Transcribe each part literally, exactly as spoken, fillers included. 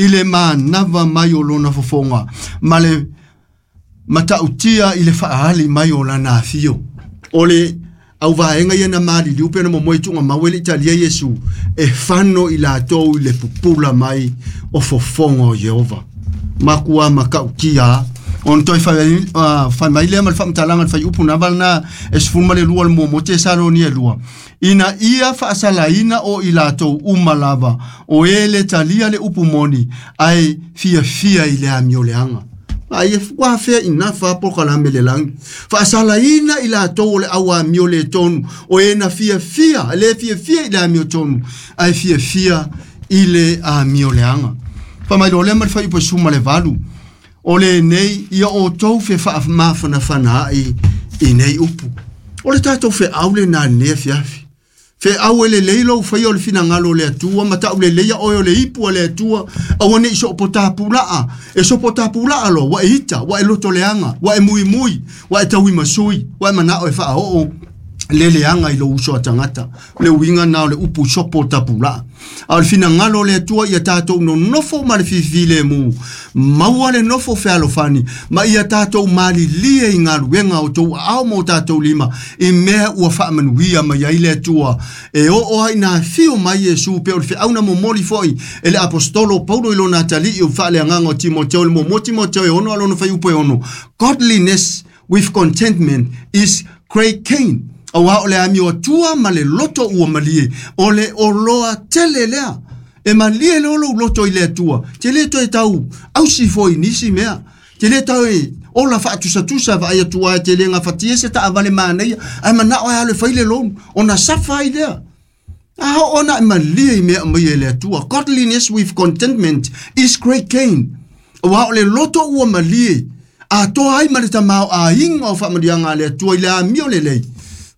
I le manava mai o lona fofoga ma le matautia i le faali mai o lana afio. O le au vaega ia na maliliu pe na momoe tuuga mau e le italia Iesu e fano i latou i le pupula mai o fofoga o Ieova. Makua matautia ona toe fai mai lea ma le faamatalaga le faiupu na valena e sefulu ma le lua o le muamua Tesalonia e lua. Ina ia faasalaina o i latou uma lava o e le talia le upu moni ae fiafia i le amioleaga. Ai e ua fea ina fa po kalame le langi. Faasalaina i latou o le au amio le tonu o e na fiafia, le fiafia i le amio tonu ae fiafia i le amioleaga. Faamailo lea ma le faiupu e suma le valu. O le nei ia o tou fe faamafanafana ai i nei upu. O le tatou feau le na nei afiafi. Feau e lelei lou faia o le finagalo o le Atua, ma tau lelei oe o le ipu a le Atua, aua nei sopo tapulaa. E sopo tapulaa loa, ua e ita, ua e lotoleaga, ua e muimui, ua e tauimasui, ua e manao e faaoo le leaga i lou uso a tagata. Le uiga na o le upu sopo tapulaa. A o le finagalo o le Atua ia tatou nonofo ma le fifilemu, maua le nofo fealofani, ma ia tatou malilie i galuega o tou aao ma o tatou lima, i mea ua faamanuia mai ai le Atua. E oo ai na afio mai Iesu pe o le feauna momoli foi e le apostolo Paulo i lona atalii o faaleagaga o Timoteo le muamua Timoteo e ono a lona faiupu e ono. Godliness with contentment is great gain. Aua o le amio atua ma le loto ua malie, o le oloa tele lea. E malie le olo loto i le atua. Te le toe tau ausi foi nisi mea. Te le tau e ola faatusatusa vaai atua e te le gafatia se taavale manaia. Ae manao e alo e fai le lonu, ona safa ai lea. A ona e malie i mea mai e le Atua. Godliness with contentment is great gain. Aua o le loto ua malie, atoa ai ma le tamaoaiga o faamanuiaga a le Atua i le amio lelei.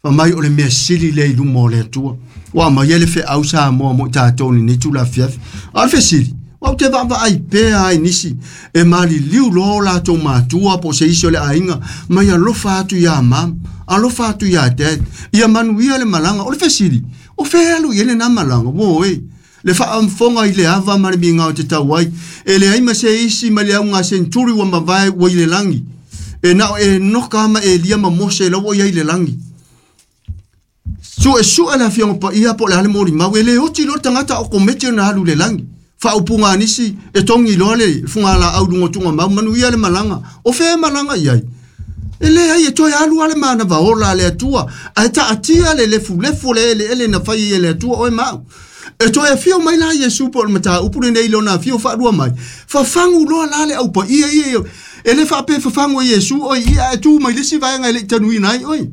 Fa mai o le mea sili le i luma o le Atua. Ua mai e le feau Samoa mo i tatou lenei tulafiafi. A o le fesili, ua ou te vaavaai pea ai nisi e maliliu loa o latou matua po o se isi o le aiga mai alofa atu iā mama, alofa atu iā dad, ia manuia le malaga. O le fesili, o fea alu i ai lenā malaga? Ua oe, le faafofoga i le ava ma le migao o te tau ai, e leai ma se isi ma le auga senturi ua mavae ua i le lagi. E nao e noka ma Elia ma Mose lau ua i ai le lagi. Suesue le afioga paia po o le a le molimau, e le oti loa le tagata o kometi ona alu i le lagi. Faaupuga a nisi e togi loa le fugalaau i luga o tugamau, manuia le malaga. O fea e malaga i ai? E leai e toe alu lava le manava ola a le Atua, ae taatia le lefulefu o le eleele na fai ai e le Atua oe ma au. E toe afio mai la Iesu po o le mataupu lenei i lona afio faalua mai. Fafagu loa la le aupaia ia, e le faapea fafagu e Iesu oe ia ae tu mai le isi vaega e le i tanuina ai oe.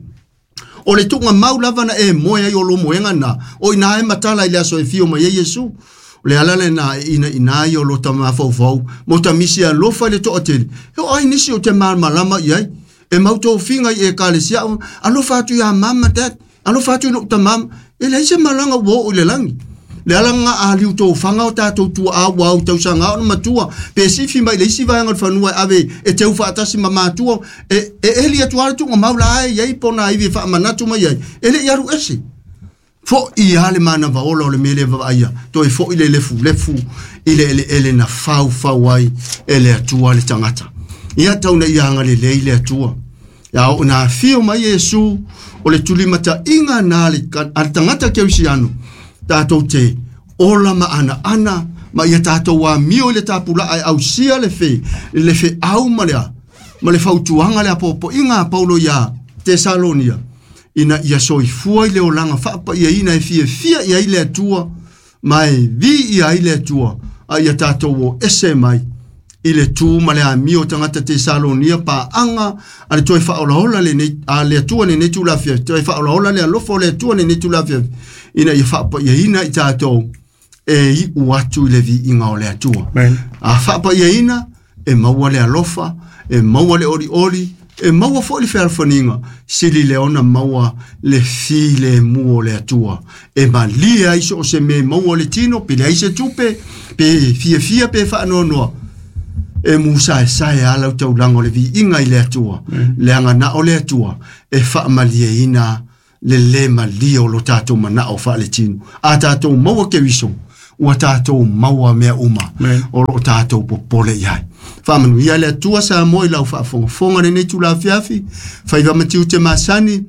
O le tuugamau lava na e moe ai o lo moega na, o ina e matala i le aso e fio mai ai Iesu. O le ala lena e ina ina ai o lo tamafaufau, mo tamisi alofa i le toatele. E o ai nisi o te malamalama i ai. E mautofiga i ekalesia, alofa atu iā mama dad, alofa atu i lou tamama. E leai se malaga ua oo i le lagi. Le ala nga aliu tofaga o tatou tuaa ua au tausaga ona matua, pe sifi mai le isi vaega o le fanua e ave e teu faatasi ma matua, e, e eli atu lava le tuugamau la e i ai pona ivi e faamanatu mai ai, e le i alu ese. Fo'i lava le manava ola o le mea lea vavaaia, toe fo'i le lefulefu i le eleele na faufau ai e le Atua le tagata. Ia tau na ia agalelei le Atua. Ia oo na afio mai Iesu o le tulimataiga na le, a le tagata kerisiano, tatou te ola ma anaana ma ia tatou amio i le tapulaa e ausia le fe, le feau ma le a, ma le fautuaga le apoapoaiga a Paulo iā Tesalonia, ina ia soifua i le olaga faapaiaina e fiafia i ai le Atua ma e viia ai le Atua, a ia tatou o ese mai i le tu ma le amio o tagata Tesalonia paaga a le toe faaolaola lenei a le Atua lenei tulafiafi, toe faaolaola le alofa o le Atua lenei tulafiafi, ina ia faapaiaina i tatou e iu atu i le viiga o le Atua. Amen. A faapaiaina e maua le alofa, e maua le olioli, e maua foi le fealofaniga, sili le ona maua le filemu o le Atua. E malie ai so o se mea e maua le tino, pe leai se tupe, pe fiafia pe faanoanoa. E musaesae a lau taulaga o le viiga i le Atua. Amen. Leaga na o le Atua e faamalieina le le malie o lo tatou manao faaletino. A tatou maua Keriso, Ua tātou maua mea uma. O loo tātou popole i ai. Whaamanuia le Atua Samoa i lau faafogafoga lenei itula afiafi. Faiva ma tiute masani.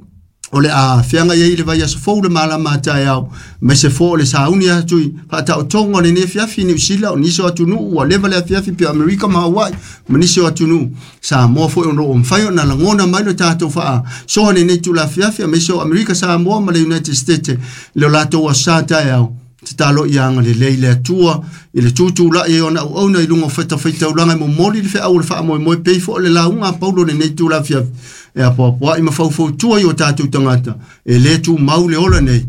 O le a feaga ia i le vaiaso fou le malama a taeao. Aemaise foi o le sauni atu i faataotoga o lenei afiafi i Niu Sila o nisi o atunuu ua leva le afiafi pea Amerika ma Hawaii ma nisi o atunuu. Samoa foi o loo mafai ona lagona mai le tatou faasoa lenei itula afiafi aemaise o Amerika Samoa ma le United States le o latou aso sa taeao. Tatalo ia agalelei le Atua i le tutulai e ona auauna i luga o fatafaitaulaga e momoli le feau o le faamoemoe pei foi o le lauga a Paulo lenei itula afiafi. E apoapoai ma faufautua i o tatou tagata e lē tumau le ola nei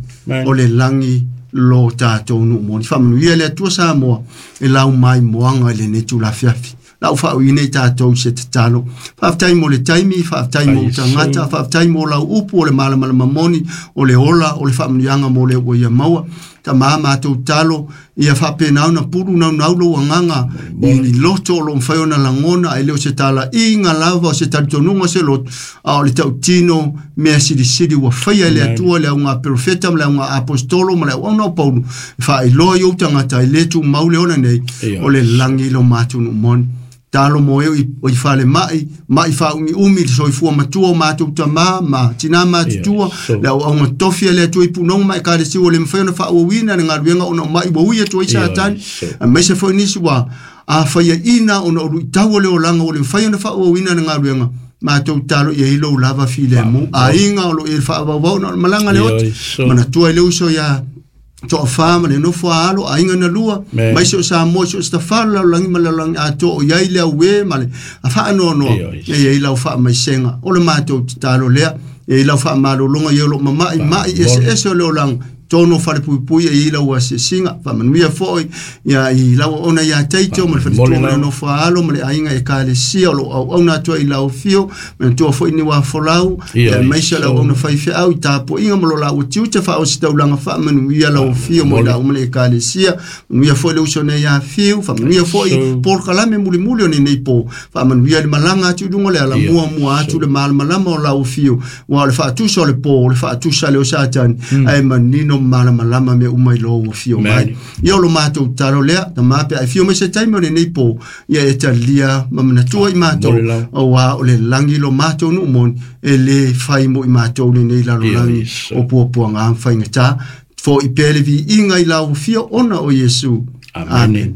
o le lagi lo tatou nuu moni. Faamanuia le Atua Samoa e lau maimoaga i lenei itula afiafi. Lau faauiina i tatou i se tatalo. Faafetai mo le taimi, faafetai mo tagata, faafetai mo lau upu o le malamalama moni, o le ola, o le faamanuiaga mo le ua ia maua. Tama matou talo, ia faapena ona pulu naunau lou agaga i loto o loo mafai ona lagona, ae le o se talaiga lava o se talitonuga o se loto, a o le tautino mea silisili ua faia e le Atua le auga perofeta ma le auga apostolo ma le auauna o Paulo, e faailoa i ou tagata e lē tumau le ola nei, o le lagi lo matou nuu moni. Talo mo e o i fale mai, mai faaumiumi le soifua matua o matou tamā ma tinā matutua, le auauna tofi a le Atua i punoga ma ekalesia ua le mafai ona faaauauina le galuega ona o mai ua ui atu ai Satani. Aemaise foi nisi ua afaiaina ona o luitau o le olaga ua le mafai ona faaauauina le galuega. Matou talo ia i lou lava filemu. Aiga o loo i le faavauvau ona o le malaga le oti. Manatua i le uso ia toafa ma le nofo a alo aiga na lua mai se o Samoa se o stafalo lalolagi ma le lalolagi atoa o iai le auē ma le faanoanoa e iai lau faamaisega o le matou tatalo lea e iai lau faamalologa ia o loo mama'i ma'i eseese o le olaga tonu o falepuipui e iai lau asiasiga faamanuia foi ia i lau auauna ia Taito ma le faletua ma le nofo a alo ma le aiga ekalesia o loo auauna atu ai i lau afio manatua foi ni uafolau aemaise o le auauna faifeau i tapuaiga ma lo laua tiute faaositaulaga faamanuia lau afio mo i lau ma le ekalesia manuia foi le uso nei afiu faamanuia foi polokalame mulimuli o lenei po faamanuia le malaga atu i luga le ala muamua atu le malamalama o lau afio ua o le faatusa o le po o le faatusa le o Satani ae manino malamalama me uma i lou afio mai. Ia o lo matou tatalo lea, tamā pe a e fio mai se taimi o lenei po, ia e talia ma manatua i matou, auā o le lagi lo matou nuu moni, e lē fai mo i matou lenei lalolagi o puapuaga ma faigatā. Fo'i pea le viiga i lau afio ona o Iesu. Amen.